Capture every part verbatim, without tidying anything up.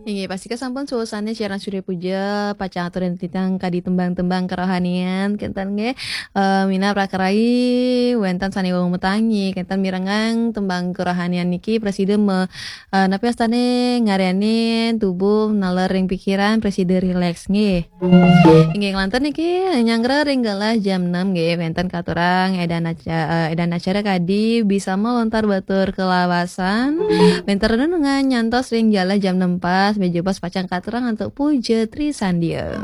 Inggih, pastika sampun suwasane siaran Surya Puja pacang aturan titiang kadi tembang-tembang kerohanian, kenten nggih. Eh, minab raka rai, wenten sane wau metangi, kenten mirengang tembang kerohanian niki prasida me-, eh, napi astane ngaryanin tubuh naler ring pikiran prasida rileks nggih. Inggih, nglantur niki nyanggra ring galah jam enam nggih, wenten katurang edan aca-, eh, edan acara kadi Bisama Lontar Batur Kalawasan. Wenten renungan nyantos ring galah jam enam pas, menawi jebos pacang katurang antuk Puja Trisandia.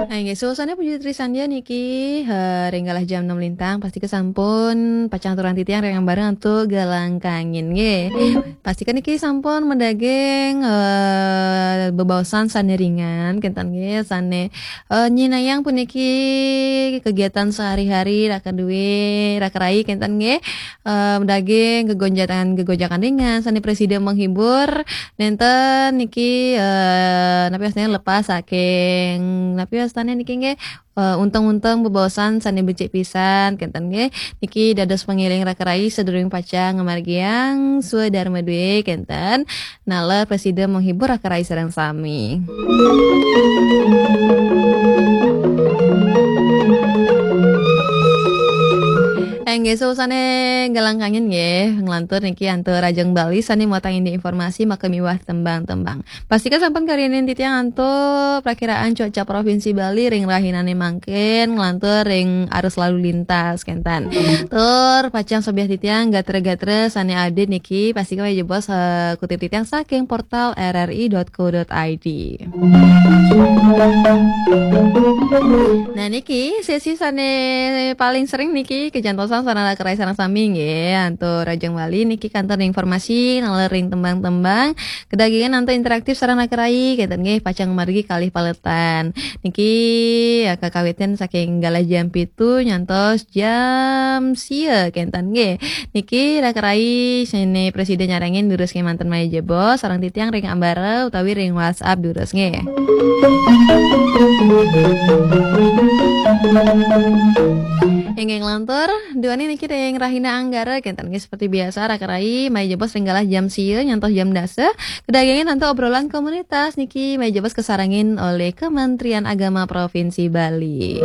Nah, inggih, suasana Puja Trisandia niki, eh, ring galah jam enam lintang, pastika sampun pacang aturang titiang ring ambareng antuk Galang Kangin nggih. Pastika niki sampun madaging, eh, bebaosan sane ringan, kenten nggih, sane, eh, nyinayang puniki kegiatan sehari-hari raka duwe, raka rai, kenten nggih. Eh, madaging gegonjakan-gegonjakan ringan, sane prasida menghibur, nenten niki, eh, napi astane lepas saking, napi astane niki nggih, eh, unteng-unteng bebaosan sane becik pisan, kenten nggih. Niki dados pangiring raka rai sadurung pacang ngamargiang swadarma duwe, kenten. Naler prasida menghibur raka rai sareng sami. Inggih, suasane Galang Kangin nggih, nglantur niki antuk Rajeng Bali sane muatang indik informasi maka miwah tembang-tembang. Pastika sampun karyanin titiang antuk prakiraan cuaca Provinsi Bali ring rahinane mangkin, nglantur ring arus lalu lintas, kenten. Tur pacang sobiah titiang gatra-gatra sane update niki, pastika menawi jebos, eh, kutip titiang saking portal R R I dot co dot I D. Nah, niki sesi sane paling sering niki kajantosan sareng raka rai sareng sami nggih, antuk Rajeng Bali niki kantun informasi naler ring tembang-tembang. Kedagingan antuk interaktif sareng raka rai, kenten nggih, pacang margi kalih paletan. Niki, ya, kakawitan saking galah jam pitu nyantos jam sia, kenten nggih. Niki raka rai sane prasida nyarengin durus kemanten menawi jebos sareng titiang ring ambara utawi ring WhatsApp durus nggih. Inggih, nglantur, duaning niki ring rahina Anggara, kenten nggih, seperti biasa raka rai menawi jebos ring galah jam sia nyantos jam dasa. Kedagingan antuk obrolan komunitas niki menawi jebos kasarengin oleh Kementerian Agama Provinsi Bali.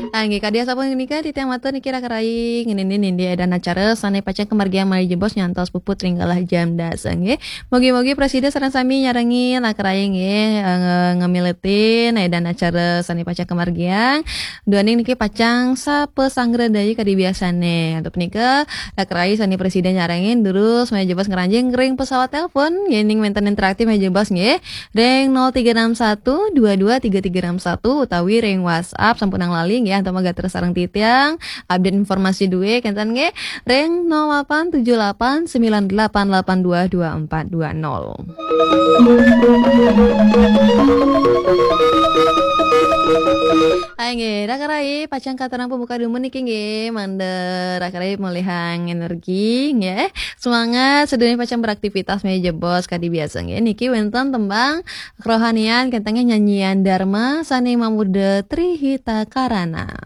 Ah, nggih, kadi asapunika titiang matur niki raka rai ngenenin indik edan acara sane pacang kamargiang menawi jebos nyantos puput ring galah jam dasa nggih. Mugi-mugi prasida sareng sami nyarengin raka rai nggih, eh, nge-, ngamiletin edan acara sane pacang kamargiang. Duaning niki pacang sapa sanggra daya kadi biasane. Antuk punika, raka rai sane prasida nyarengin durus menawi jebos ngranjing ring pesawat telepon, yening wenten interaktif menawi jebos nggih. Ring nol tiga enam satu dua dua tiga tiga enam satu utawi ring WhatsApp sampunang lali nggih, antuk magatra sareng titiang, update informasi duwe, kenten nggih. Ring nol delapan tujuh delapan sembilan delapan delapan dua dua empat dua nol. Hai nggih, raka rai, pacang katurang pembuka dumun niki nggih, mangda raka rai malihang energi nggih. Semangat sadurunge pacang beraktivitas menawi jebos kadi biasa nggih. Niki wenten tembang kerohanian, kenten nggih, nyanyian Dharma sane mamurda Tri Hita Karana.